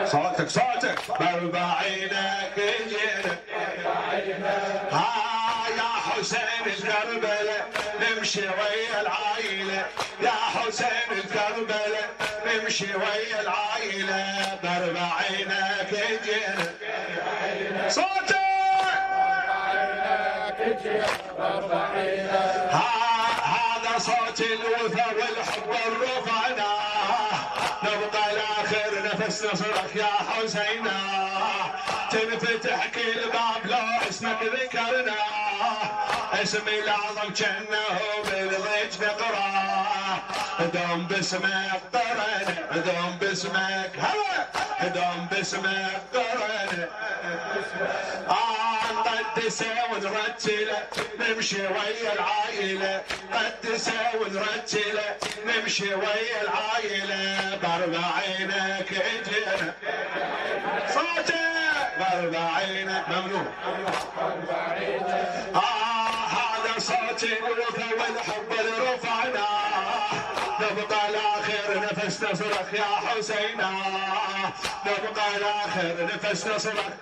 صوتك صوتك باربعينك جينا يا حسين الكربلة نمشي ويا العايلة يا حسين الكربلة نمشي ويا العايلة باربعينك جينا صوتك هذا صوت الوفا والحب الرفعنا نبقى لاخر نفس نصرك يا حسينا تنفتح كل باب لو اسمك ذكرنا اسمي الاعظم جنه بالضيج نقرا دوم باسمك قرن دوم باسمك دوم باسمك قرن نقدسه ونرتله نمشي ويا العائله قدسه ونرتله نمشي ويا العائله باربعينك اجينا صوتك باربعينك ممنوع هذا صوت الوفا والحب اللي رفعنا نبقى لاخر نفس نصرك يا حسينا نبقى لاخر نفس نصرك